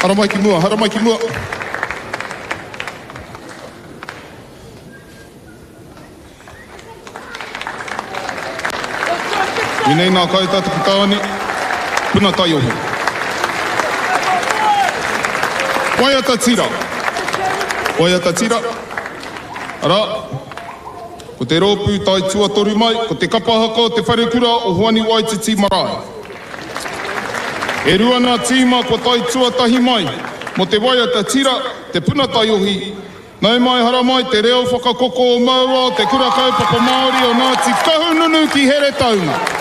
Haramai ki mua, haramai ki mua. Inei nā Kaita taku tāne, puna taiohi. Waiata tira. Waiata tira. Arā, ko te rōpū tae tuatoru mai, ko te kapa haka o te wharekura o Hoani Waititi Marae. E rua nā tīma kua tae tuatahi mai mō te waiata tira, te puna taiohi, Nau mai haramai te reo whakakoko o Maua o Te Kura Kaupapa Māori o Ngāti Kahungunu ki Heretaunga.